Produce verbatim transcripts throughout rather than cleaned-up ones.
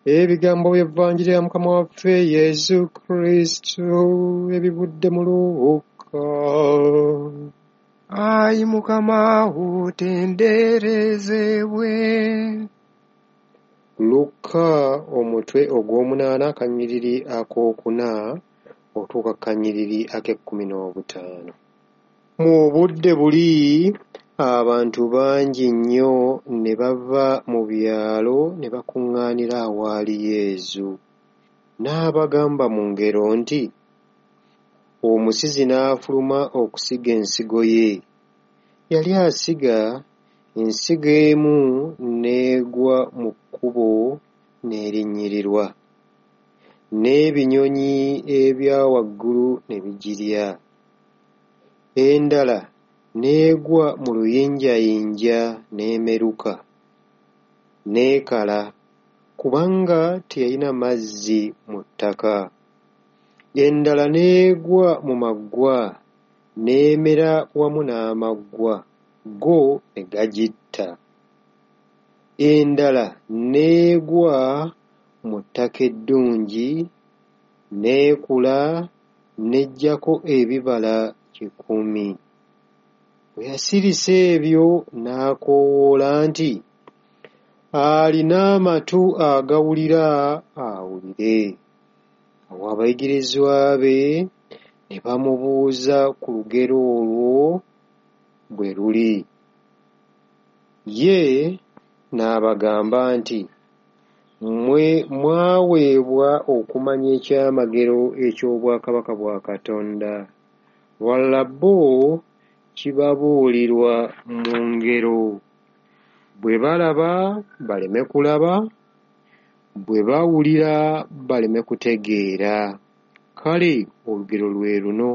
Ebigambo by'Evanjiri ya Mukama waffe Yesu Kristo ebivudde mu Luuka. Ayi Mukama otenderezebwe. Luka omutwe ogw'omunaana akanyiriri akookuna otuuka ku kanyiriri ak'ekkumi n'obutaano. Mu budde buli abantu bangi nnyo ne bava mu byalo ne bakuŋŋaanira awaali Yesu. N'abagamba mu ngero nti, Omusizi n'afuluma okusiga ensigo ye. Yali asiga, ensigo emu n'egwa mu kkubo n'erinnyirirwa, n'ebinyonyi ebya waggulu ne bigirya. Endala n'egwa mu luyinjayinja n'emeruka, n'ekala, kubanga teyalina mazzi mu ttaka. Endala n'egwa mu maggwa, n'emera wamu n'amaggwa, go ne gagitta. Endala n'egwa mu ttaka eddungi, n'ekula n'eggyako ebibala kikumi. Bwe yasirisa ebyo n'akoowoola nti, Alina amatu agawulira awulire. Awo abayigirizwa be ne bamubuuza ku lugero olwo bwe luli. Ye n'abagamba nti, Mmwe mwaweebwa okumanya ekyamagero eky'obwakabaka bwa Katonda, wabula bo kibabuulirwa mu ngero, bwe balaba baleme kulaba, bwe bawulira baleme kutegeera. Kale olugero lwe luno.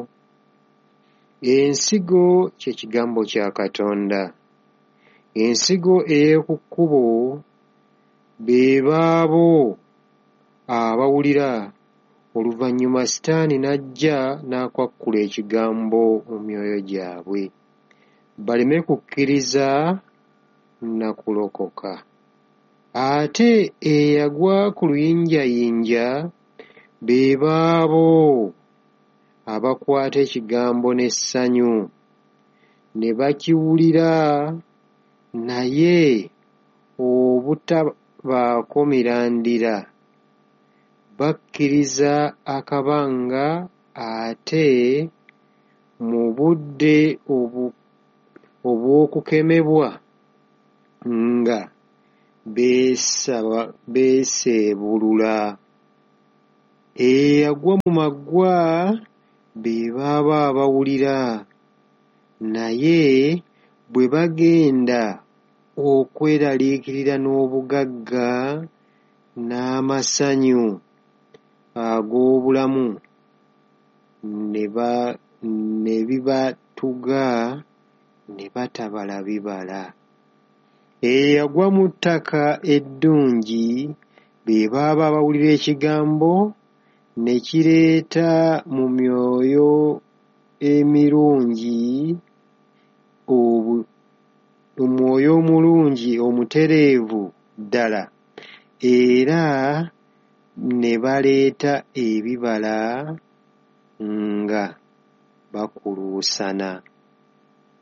Ensigo kye kigambo kya Katonda. Ensigo ey'oku kkubo be baabo abawulira, oluvannyuma Sitaani n'ajja n'akwakkula ekigambo mu myoyo gyabwe, baleme kukkiriza na kulokoka. Ate eyagwa ku luyinjayinja be baabo abakwata ekigambo n'essanyu, ne bakiwulira naye obutabaako mirandira, bakkiriza akabanga ate mu budde obw'okukemebwa nga beeseebulula. Eyagwa mu maggwa be baabo abawulira, naye bwe bagenda okweraliikirira n'obugagga n'amasanyu ag'obulamu ne bibatuga ne batabala bibala. Eyagwa mu ttaka eddungi be baabo abawulira ekigambo ne kireeta mu myoyo emirungi omwoyo omulungi omutereevu ddala era ne baleeta ebibala nga bakuluusana.